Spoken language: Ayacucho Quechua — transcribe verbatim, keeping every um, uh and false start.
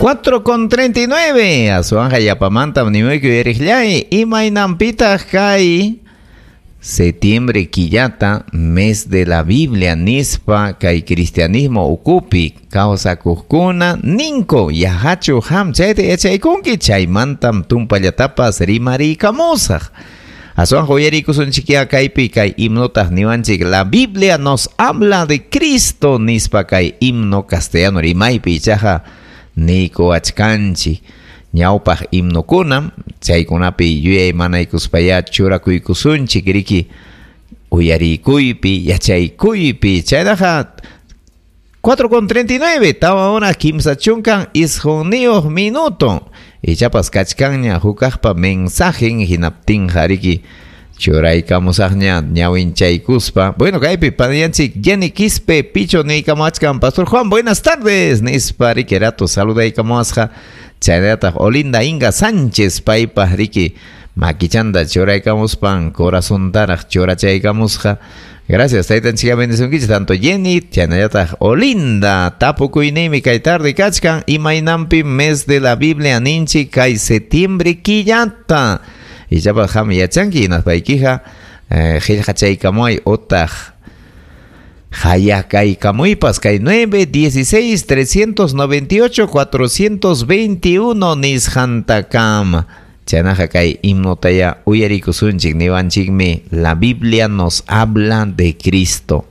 cuatro con treinta y nueve. Aswanja yapamanta nimuyku uyariqllay imaynanpitaq kay septiembre killata mes de la Biblia nispa kay cristianismo ukupi kawsakuqkuna ninko yahachu ham chayta yachaykunki chaymantam tumpallatapas rimariykamusaq. Aswanja uyarikusunchikya kaypi kay himnotaq niwanchik la Biblia nos habla de Cristo nispa kay himno castellano rimaypi ichaqa niykuwachkanchik. Ñawpaq himnokunam chaykunapi yuyaymanaykuspaya churakuykusunchik riki uyarikuypi yachaykuypi. Chaynaqa cuatro con treinta y nueve tawa hora kimsa chunkan isqunniyuq minuto. Ichapas kachkanña hukaqpa mensajen hinaptinqa riki churaykamusaqña ñawinchaykuspa. Bueno, kaypi paniyanchik Jenny Quispe Picho niykamuachkan. Pastor Juan, buenas tardes nispa riki rato saludaykamuasqa. Chaynallataq Olinda Inga Sánchez paypaq riki makichanta churaykamuspan corazontaraq churachaykamusqa. Gracias, taytanchik bendicionkichik tanto Jenny, chaynallataq Olinda. Tapukuyniymi kay tarde kachkan imaynanpi mes de la Biblia ninchik kay septiembre killata. Ichapas qam yachanki hinaspaykiqa qillqachaykamuay otaq hayakaykamuypas kay nueve dieciséis trescientos noventa y ocho cuatrocientos veintiuno nisqantakama. Chaynaqa kay himnotaya uyarikusunchik niwanchikmi la Biblia nos habla de Cristo.